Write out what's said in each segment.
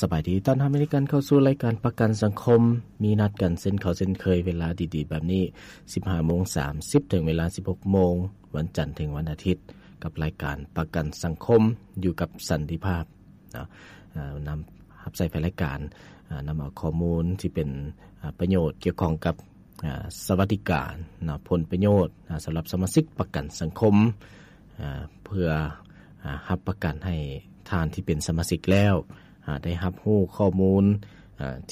ສະບາຍດີ ຕ້ອນຮັບເຂົ້າສູ່ລາຍການປະກັນສັງຄົມ. ມີນັດກັນເຊັ່ນເກົ່າເຊັ່ນເຄີຍ ເວລາດີໆແບບນີ້ ສິບຫ້າໂມງສາມສິບ ເຖິງເວລາ ສິບຫົກໂມງ ວັນຈັນເຖິງວັນອາທິດ ກັບລາຍການປະກັນສັງຄົມ ຢູ່ກັບສັນຕິພາບເນາະ. ນຳຮັບໃຊ້ແຟນລາຍການ ນຳເອົາຂໍ້ມູນທີ່ເປັນປະໂຫຍດກ່ຽວຂ້ອງກັບສະຫວັດດີການເນາະ ຜົນປະໂຫຍດສຳລັບສະມາຊິກປະກັນສັງຄົມ ເພື່ອຮັບປະກັນໃຫ້ທ່ານທີ່ເປັນສະມາຊິກແລ້ວ ໄດ້ຮັບຮູ້ຂໍ້ມູນ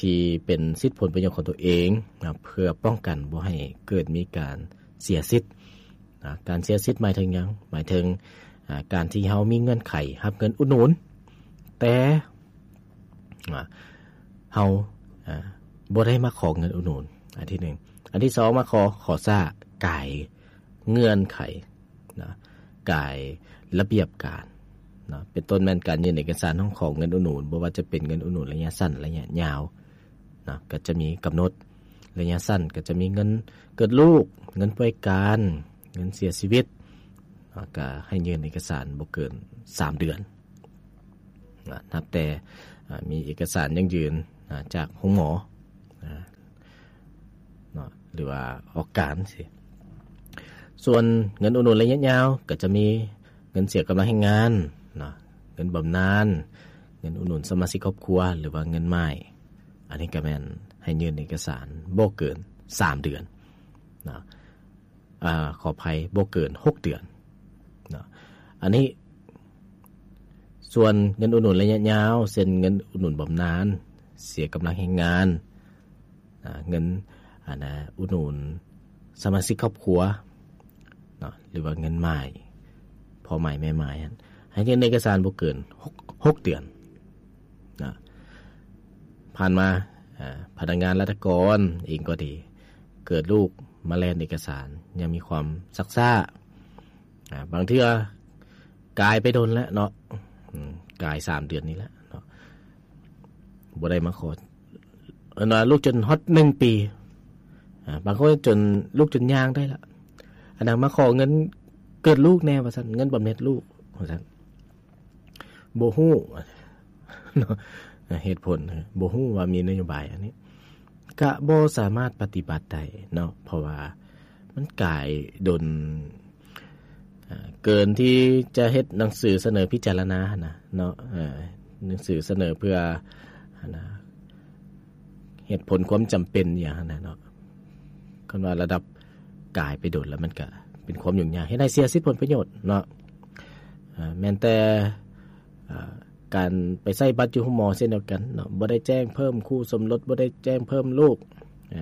ທີ່ເປັນສິດຜົນປະໂຫຍດຂອງຕົວເອງ ເພື່ອປ້ອງກັນບໍ່ໃຫ້ເກີດມີການເສຍສິດ. ການເສຍສິດໝາຍເຖິງຫຍັງ? ໝາຍເຖິງການທີ່ເຮົາມີເງື່ອນໄຂຮັບເງິນອຸດໜູນ ແຕ່ເຮົາບໍ່ໄດ້ມາຂໍເງິນອຸດໜູນ ອັນທີໜຶ່ງ. ອັນທີສອງ ມາຂໍ ຂໍຊ້າ ກາຍເງື່ອນໄຂ ນະ ກາຍລະບຽບການເນາະ ເປັນຕົ້ນແມ່ນການຍື່ນເອກະສານຮ້ອງຂໍເງິນອຸດໜູນ ບໍ່ວ່າຈະເປັນເງິນອຸດໜູນໄລຍະສັ້ນ ໄລຍະຍາວເນາະ ກໍຈະມີກຳນົດ. ໄລຍະສັ້ນກໍຈະມີເງິນເກີດລູກ ເງິນປ່ວຍການ ເງິນເສຍຊີວິດເນາະ ກໍໃຫ້ຍື່ນເອກະສານບໍ່ເກີນສາມເດືອນ ນະ ນັບແຕ່ມີເອກະສານຢັ້ງຢືນຈາກໂຮງໝໍ ເນາະ ຫຼືວ່າອອກການຊີ້. ສ່ວນເງິນອຸດໜູນໄລຍະຍາວ ກໍຈະມີເງິນເສຍກຳລັງແຮງງານເນາະ ເງິນບຳນານ ເງິນອຸດໜູນສະມາຊິກຄອບຄົວ ຫຼືວ່າເງິນໝ້າຍ. ອັນນີ້ກໍແມ່ນໃຫ້ຍື່ນເອກະສານບໍ່ເກີນສາມເດືອນເນາະ ອາ ຂໍອະໄພ ບໍ່ເກີນຫົກເດືອນເນາະ. ອັນນີ້ ສ່ວນເງິນອຸດໜູນໄລຍະຍາວ ເຊັ່ນເງິນອຸດໜູນບຳນານ ເສຍກຳລັງແຮງງານ ອາ ເງິນ ອັນນະ ອຸດໜູນສະມາຊິກຄອບຄົວເນາະ ຫຼືວ່າເງິນໝ້າຍ ພໍ່ໝ້າຍແມ່ໝ້າຍຫັ້ນ ໃຫ້ຍື່ນເອກະສານບໍ່ເກີນຫົກ ຫົກເດືອນນະ. ຜ່ານມາ ອາ ພະນັກງານລັດຖະກອນເອງກໍດີ ເກີດລູກມາແລ່ນເອກະສານ ຍັງມີຄວາມຊັກຊ້າ ອາ ບາງເທື່ອກາຍໄປດົນແລ້ວເນາະ ອາ ກາຍສາມເດືອນນີ້ແຫຼະເນາະ ບໍ່ໄດ້ມາຂໍ ອັນວ່າລູກຈົນຮອດໜຶ່ງປີ ອາ ບາງຄົນຈົນ ລູກຈົນຍ່າງໄດ້ລະ ອັນນັ້ນມາຂໍເງິນເກີດລູກແດ່ວ່າຊັ້ນ ເງິນບຳເນັດລູກວ່າຊັ້ນ ບໍ່ຮູ້ເນາະ ເຫດຜົນ ບໍ່ຮູ້ວ່າມີນະໂຍບາຍອັນນີ້ ກະບໍ່ສາມາດປະຕິບັດໄດ້ເນາະ ເພາະວ່າມັນກາຍດົນ ເກີນທີ່ຈະເຮັດໜັງສືສະເໜີພິຈາລະນາຫັ້ນນະເນາະ ເອີ ໜັງສືສະເໜີເພື່ອຫັ້ນນະ ເຫດຜົນຄວາມຈຳເປັນອີ່ຫຍັງຫັ້ນນະເນາະ. ຄັນວ່າລະດັບກາຍໄປດົນແລ້ວ ມັນກະເປັນຄວາມຫຍຸ້ງຍາກ ເຮັດໃຫ້ເສຍສິດຜົນປະໂຫຍດເນາະ ເອີ ແມ່ນແຕ່ ເອີ ການໄປໃຊ້ບັດຢູ່ໂຮງໝໍເຊັ່ນດຽວກັນເນາະ ບໍ່ໄດ້ແຈ້ງເພີ່ມຄູ່ສົມລົດ ບໍ່ໄດ້ແຈ້ງເພີ່ມລູກ ເອີ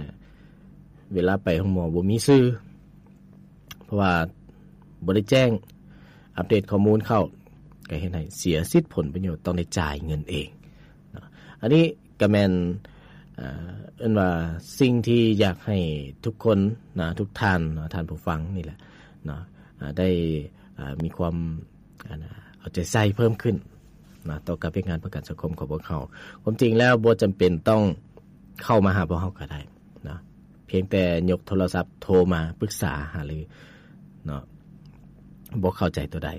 ເວລາໄປໂຮງໝໍບໍ່ມີຊື່ ເພາະວ່າບໍ່ໄດ້ແຈ້ງ ອັບເດດຂໍ້ມູນເຂົ້າ ກໍເຮັດໃຫ້ເສຍສິດຜົນປະໂຫຍດ ຕ້ອງໄດ້ຈ່າຍເງິນເອງເນາະ. ອັນນີ້ກໍແມ່ນ ເອີ ເອີ້ນວ່າສິ່ງທີ່ຢາກໃຫ້ທຸກຄົນນະ ທຸກທ່ານເນາະ ທ່ານຜູ້ຟັງນີ້ແຫຼະເນາະ ອາ ໄດ້ ອາ ມີຄວາມ ອັນນະ ເອົາໃຈໃສ່ເພີ່ມຂຶ້ນນະ ຕໍ່ກັບວຽກງານປະກັນສັງຄົມຂອງພວກເຮົາ. ຄວາມຈິງແລ້ວບໍ່ຈຳເປັນຕ້ອງເຂົ້າມາຫາພວກເຮົາກໍໄດ້ນະ ພຽງແຕ່ຍົກໂທລະສັບໂທມາປຶກສາຫາລືເນາະ ບໍ່ເຂົ້າໃຈຕົວໃດ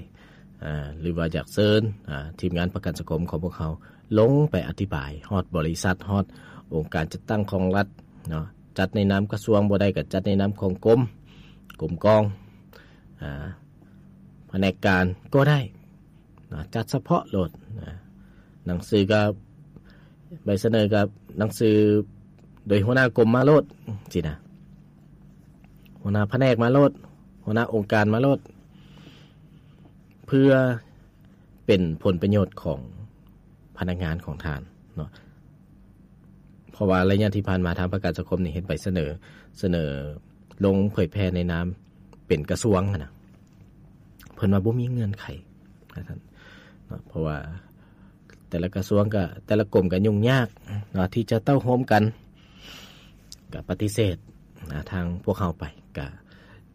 ອາ ຫຼືວ່າຢາກເຊີນ ອາ ທີມງານປະກັນສັງຄົມຂອງພວກເຮົາລົງໄປອະທິບາຍຮອດບໍລິສັດ ຮອດອົງການຈັດຕັ້ງຂອງລັດເນາະ ຈັດໃນນາມກະຊວງ ບໍ່ໄດ້ກໍຈັດໃນນາມຂອງກົມ ກົມກອງ ອາ ພະແນກການກໍໄດ້ນະ ຈັດສະເພາະໂລດນະ ໜັງສືກໍ ໃບສະເໜີກໍໜັງສືໂດຍຫົວໜ້າກົມມາໂລດຊີ້ນະ ຫົວໜ້າພະແນກມາໂລດ ຫົວໜ້າອົງການມາໂລດ ເພື່ອເປັນຜົນປະໂຫຍດຂອງພະນັກງານຂອງທ່ານເນາະ. ເພາະວ່າໄລຍະທີ່ຜ່ານມາທາງປະກັນສັງຄົມນີ້ເຮັດໃບສະເໜີ ສະເໜີລົງເຜີຍແຜ່ໃນນາມເປັນກະຊວງຫັ້ນນະ ເພິ່ນວ່າບໍ່ມີເງື່ອນໄຂວ່າຊັ້ນເນາະ ເພາະວ່າແຕ່ລະກະຊວງກະ ແຕ່ລະກົມກະຫຍຸ້ງຍາກເນາະ ທີ່ຈະເຕົ້າໂຮມກັນ ກະປະຕິເສດນະ ທາງພວກເຮົາໄປ ກະ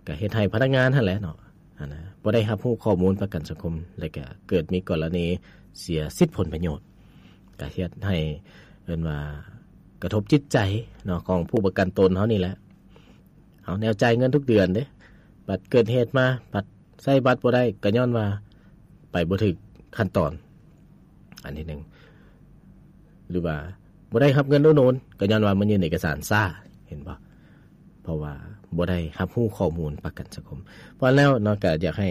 ກະເຮັດໃຫ້ພະນັກງານຫັ້ນແຫຼະເນາະ ອັນນະ ບໍ່ໄດ້ຮັບຮູ້ຂໍ້ມູນປະກັນສັງຄົມ ແລະກະເກີດມີກໍລະນີເສຍສິດຜົນປະໂຫຍດ ກະເຮັດໃຫ້ ເອີ້ນວ່າກະທົບຈິດໃຈເນາະ ຂອງຜູ້ປະກັນຕົນເຮົານີ້ແຫຼະ. ເຮົາແນວຈ່າຍເງິນທຸກເດືອນເດ້ ບັດເກີດເຫດມາ ບັດໃຊ້ບັດບໍ່ໄດ້ ກໍຍ້ອນວ່າໄປບໍ່ຖືກຂັ້ນຕອນ ອັນທີໜຶ່ງ. ຫຼືວ່າບໍ່ໄດ້ຮັບເງິນອຸດໜູນ ກໍຍ້ອນວ່າມາຍື່ນເອກະສານຊ້າ ເຫັນບໍ່? ເພາະວ່າບໍ່ໄດ້ຮັບຮູ້ຂໍ້ມູນປະກັນສັງຄົມ. ເພາະນັ້ນແລ້ວເນາະ ກໍຢາກໃຫ້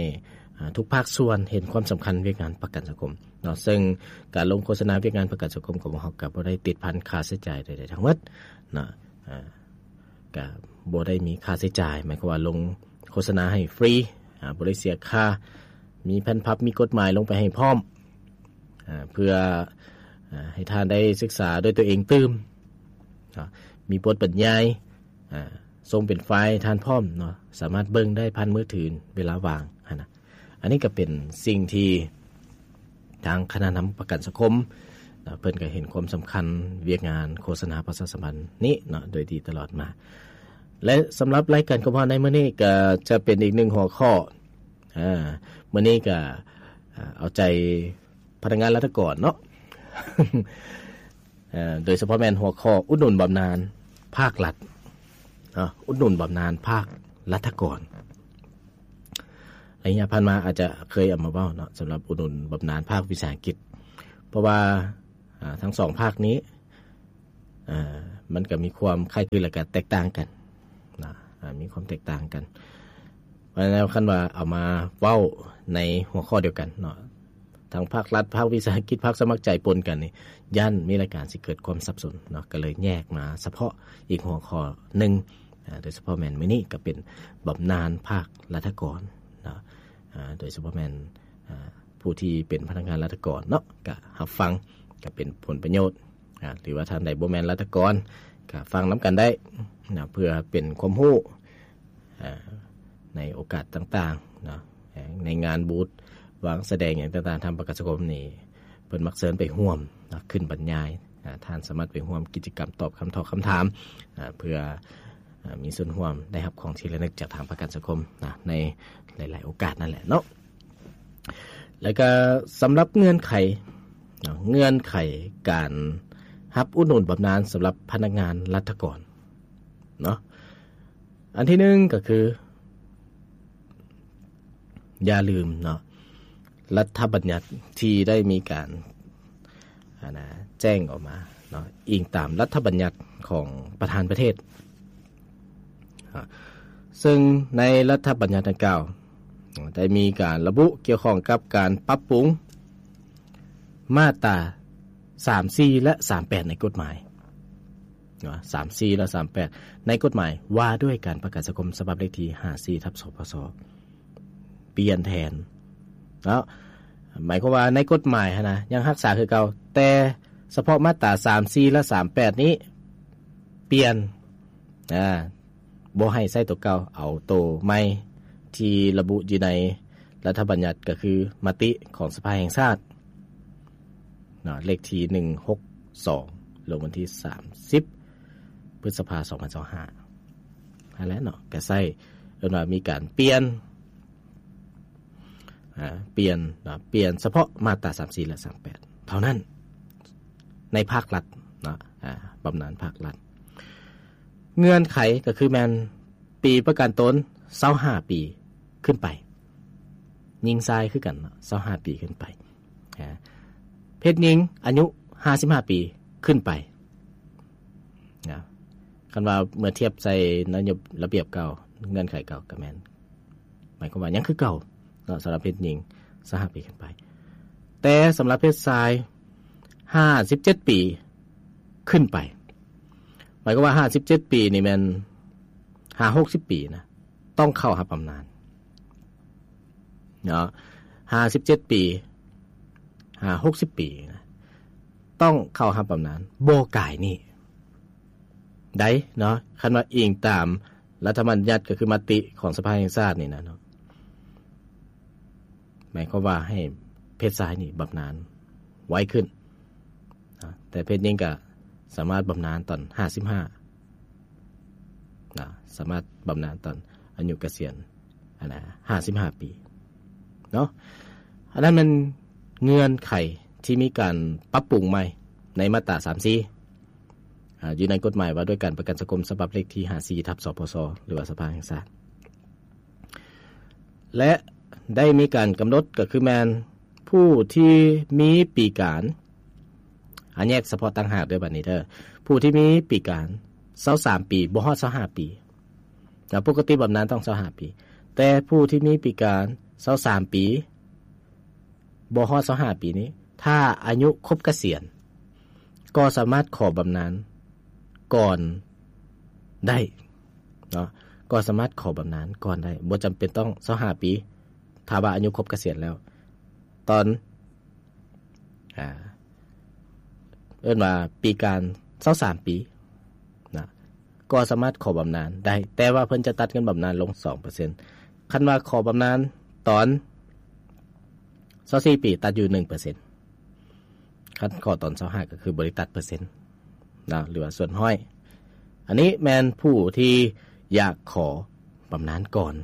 ອ່າ ທຸກພາກສ່ວນເຫັນຄວາມສຳຄັນວຽກງານປະກັນສັງຄົມເນາະ, ເຊິ່ງການລົງໂຄສະນາວຽກງານປະກັນສັງຄົມຂອງພວກເຮົາກໍບໍ່ໄດ້ຕິດພັນຄ່າໃຊ້ຈ່າຍໃດໆທັງໝົດເນາະ. ອ່າ ກະບໍ່ໄດ້ມີຄ່າໃຊ້ຈ່າຍ ໝາຍຄວາມວ່າລົງໂຄສະນາໃຫ້ຟຣີ ອ່າ ບໍ່ໄດ້ເສຍຄ່າ, ມີແຜ່ນພັບ ມີກົດໝາຍລົງໄປໃຫ້ພ້ອມ ອ່າ ເພື່ອ ອ່າ ໃຫ້ທ່ານໄດ້ສຶກສາດ້ວຍຕົວເອງຕື່ມເນາະ, ມີບົດບັນຍາຍ ອ່າ ສົ່ງເປັນໄຟລ໌ໃຫ້ທ່ານພ້ອມເນາະ, ສາມາດເບິ່ງໄດ້ຜ່ານມືຖືເວລາວ່າງຫັ້ນນະ. ອັນນີ້ກໍເປັນສິ່ງທີ່ທາງຄະນະນຳປະກັນສັງຄົມເນາະ ເພິ່ນກໍເຫັນຄວາມສຳຄັນວຽກງານໂຄສະນາປະຊາສຳພັນນີ້ເນາະ ໂດຍດີຕະຫຼອດມາ. ແລະ ສຳລັບລາຍການຂອງເຮົາໃນມື້ນີ້ກໍຈະເປັນອີກໜຶ່ງຫົວຂໍ້ ອ່າ ມື້ນີ້ກໍ ອ່າ ເອົາໃຈພະນັກງານລັດຖະກອນເນາະ ເອີ ໂດຍສະເພາະແມ່ນຫົວຂໍ້ອຸດໜູນບຳນານພາກລັດເນາະ, ອຸດໜູນບຳນານພາກລັດຖະກອນ. ໄລຍະຜ່ານມາອາດຈະເຄີຍເອົາມາເວົ້າເນາະ ສຳລັບອຸດໜູນບຳນານພາກວິສາຫະກິດ ເພາະວ່າ ອ່າ ທັງສອງພາກນີ້ ເອີ ມັນກໍມີຄວາມຄ້າຍຄື ແລະ ກໍແຕກຕ່າງກັນນະ ອ່າ ມີຄວາມແຕກຕ່າງກັນ. ເພາະນັ້ນແລ້ວ ຄັນວ່າເອົາມາເວົ້າໃນຫົວຂໍ້ດຽວກັນເນາະ ທັງພາກລັດ ພາກວິສາຫະກິດ ພາກສະໝັກໃຈປົນກັນນີ້ ຢ້ານມີລາຍການຊິເກີດຄວາມສັບສົນເນາະ, ກໍເລີຍແຍກມາສະເພາະອີກຫົວຂໍ້ໜຶ່ງ ອ່າ ໂດຍສະເພາະແມ່ນມື້ນີ້ກໍເປັນບຳນານພາກລັດຖະກອນເນາະ, ອ່າ ໂດຍສະເພາະແມ່ນ ອ່າ ຜູ້ທີ່ເປັນພະນັກງານລັດຖະກອນເນາະ ກໍຮັບຟັງ ກໍເປັນຜົນປະໂຫຍດ ອ່າ ຫຼືວ່າທ່ານໃດບໍ່ແມ່ນລັດຖະກອນ ກໍຟັງນຳກັນໄດ້ນະ ເພື່ອເປັນຄວາມຮູ້ ອ່າ ໃນໂອກາດຕ່າງໆເນາະ, ໃນງານບູດວາງສະແດງຫຍັງຕ່າງໆ ທາງປະກັນສັງຄົມນີ້ ເພິ່ນມັກເຊີນໄປຮ່ວມເນາະ ຂຶ້ນບັນຍາຍ, ອ່າ ທ່ານສາມາດໄປຮ່ວມກິດຈະກຳຕອບຄຳຖາມ ຄຳຖາມ ອ່າ ເພື່ອ ອ່າ ມີສ່ວນຮ່ວມໄດ້ຮັບຂອງທີ່ລະນຶກຈາກທາງປະກັນສັງຄົມນະ ໃນຫຼາຍໆໂອກາດນັ້ນແຫຼະເນາະ. ແລ້ວກໍສຳລັບເງື່ອນໄຂເນາະ ເງື່ອນໄຂການຮັບອຸດໜູນບຳນານສຳລັບພະນັກງານລັດຖະກອນເນາະ, ອັນທີໜຶ່ງກໍຄື ຢ່າລືມເນາະ ລັດຖະບັນຍັດທີ່ໄດ້ມີການ ອັນນະ ແຈ້ງອອກມາເນາະ ອີງຕາມລັດຖະບັນຍັດຂອງປະທານປະເທດ ເຊິ່ງໃນລັດຖະບັນຍັດດັ່ງກ່າວ ໄດ້ມີການລະບຸກ່ຽວຂ້ອງກັບການປັບປຸງມາດຕາ ສາມສີ່ ແລະ ສາມແປດ ໃນກົດໝາຍເນາະ, ສາມສີ່ ແລະ ສາມແປດ ໃນກົດໝາຍວ່າດ້ວຍການປະກັນສັງຄົມ ສະບັບເລກທີ ຫ້າສີ່ ທັບ ສພສ ປ່ຽນແທນເນາະ. ໝາຍຄວາມວ່າໃນກົດໝາຍຫັ້ນນະ ຍັງຮັກສາຄືເກົ່າ, ແຕ່ສະເພາະມາດຕາ ສາມສີ່ ແລະ ສາມແປດ ນີ້ປ່ຽນ ອ່າ ບໍ່ໃຫ້ໃຊ້ໂຕເກົ່າ, ເອົາໂຕໃໝ່ທີ່ລະບຸຢູ່ໃນລັດຖະບັນຍັດ ກໍຄືມະຕິຂອງສະພາແຫ່ງຊາດເນາະ ເລກທີ ໜຶ່ງຫົກສອງ ລົງວັນທີ ສາມສິບ ພຶດສະພາ ສອງພັນຊາວຫ້າ ຫັ້ນແຫຼະເນາະ, ກໍໃຊ້ ເອີ້ນວ່າມີການປ່ຽນ ອ່າ ປ່ຽນເນາະ ປ່ຽນສະເພາະມາດຕາ ສາມສີ່ ແລະ ສາມແປດ ເທົ່ານັ້ນ ໃນພາກລັດເນາະ ອ່າ ບຳນານພາກລັດ. ເງື່ອນໄຂກໍຄືແມ່ນປີປະກັນຕົນ ຊາວຫ້າປີຂຶ້ນໄປ, ຍິງຊາຍຄືກັນເນາະ ຊາວຫ້າປີຂຶ້ນໄປ, ອ່າ ເພດຍິງອາຍຸ ຫ້າສິບຫ້າປີຂຶ້ນໄປນະ. ຄັນວ່າເມື່ອທຽບໃສ່ນະໂຍບ ລະບຽບເກົ່າ ເງື່ອນໄຂເກົ່າກໍແມ່ນ ໝາຍຄວາມວ່າຍັງຄືເກົ່າເນາະ ສຳລັບເພດຍິງ ຊາວຫ້າປີຂຶ້ນໄປ, ແຕ່ສຳລັບເພດຊາຍ ຫ້າສິບເຈັດປີຂຶ້ນໄປ. ໝາຍຄວາມວ່າ ຫ້າສິບເຈັດປີນີ້ແມ່ນ ຫາ ຫົກສິບປີນະ ຕ້ອງເຂົ້າຮັບບຳນານເນາະ, ຫ້າສິບເຈັດປີ ຫາ ຫົກສິບປີນະ ຕ້ອງເຂົ້າຮັບບຳນານ ບໍ່ກາຍນີ້ໄດ້ເນາະ. ຄັນວ່າອີງຕາມລັດຖະບັນຍັດ ກໍຄືມະຕິຂອງສະພາແຫ່ງຊາດນີ້ນະເນາະ, ໝາຍຄວາມວ່າໃຫ້ເພດຊາຍນີ້ບຳນານໄວຂຶ້ນ ແຕ່ເພດຍິງກໍສາມາດບຳນານຕອນ ຫ້າສິບຫ້າ ນະ ສາມາດບຳນານຕອນອາຍຸກະສຽນ ອັນນະ ຫ້າສິບຫ້າປີເນາະ. ອັນນັ້ນແມ່ນເງື່ອນໄຂທີ່ມີການປັບປຸງໃໝ່ໃນມາດຕາ ສາມສີ່ ອ່າ ຢູ່ໃນກົດໝາຍວ່າດ້ວຍການປະກັນສັງຄົມ ສະບັບເລກທີ ຫ້າສີ່ ທັບ ສພສ ຫຼືວ່າສະພາແຫ່ງຊາດ ແລະ ໄດ້ມີການກຳນົດ ກໍຄືແມ່ນຜູ້ທີ່ມີປີການ ອາ ແຍກສະເພາະຕ່າງຫາກເດີບັດນີ້ເດີ. ຜູ້ທີ່ມີປີການຊາວສາມປີ ບໍ່ຮອດຊາວຫ້າປີນະ, ປົກກະຕິບຳນານຕ້ອງຊາວຫ້າປີ, ແຕ່ຜູ້ທີ່ມີປີການຊາວສາມປີ ບໍ່ຮອດຊາວຫ້າປີນີ້ ຖ້າອາຍຸຄົບກະສຽນ ກໍສາມາດຂໍບຳນານກ່ອນໄດ້ເນາະ, ກໍສາມາດຂໍບຳນານກ່ອນໄດ້ ບໍ່ຈຳເປັນຕ້ອງຊາວຫ້າປີ ຖ້າວ່າອາຍຸຄົບກະສຽນແລ້ວ ຕອນ ອ່າ ເອີ້ນວ່າປີການຊາວສາມປີນະ ກໍສາມາດຂໍບຳນານໄດ້ ແຕ່ວ່າເພິ່ນຈະຕັດເງິນບຳນານລົງສອງເປີເຊັນ. ຄັນວ່າຂໍບຳນານຕອນຊາວສີ່ປີ ຕັດຢູ່ໜຶ່ງເປີເຊັນ, ຄັນຂໍຕອນຊາວຫ້າ ກໍຄືບໍ່ໄດ້ຕັດເປີເຊັນນະ ຫຼືວ່າສ່ວນຮ້ອຍ. ອັນນີ້ແມ່ນຜູ້ທີ່ຢາກຂໍບຳນານກ່ອນ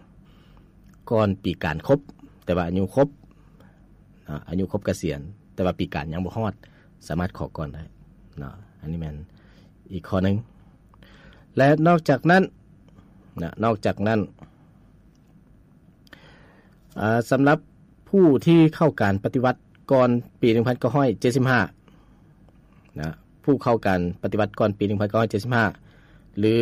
ກ່ອນປີການຄົບ ແຕ່ວ່າອາຍຸຄົບ ອາ ອາຍຸຄົບກະສຽນ ແຕ່ວ່າປີການຍັງບໍ່ຮອດ ສາມາດຂໍກ່ອນໄດ້ເນາະ. ອັນນີ້ແມ່ນອີກຂໍ້ໜຶ່ງ ແລະ ນອກຈາກນັ້ນນະ ນອກຈາກນັ້ນ ອາ ສຳລັບຜູ້ທີ່ເຂົ້າການປະຕິວັດກ່ອນປີໜຶ່ງພັນເກົ້າຮ້ອຍເຈັດສິບຫ້ານະ, ຜູ້ເຂົ້າການປະຕິວັດກ່ອນປີໜຶ່ງພັນເກົ້າຮ້ອຍເຈັດສິບຫ້າ ຫຼື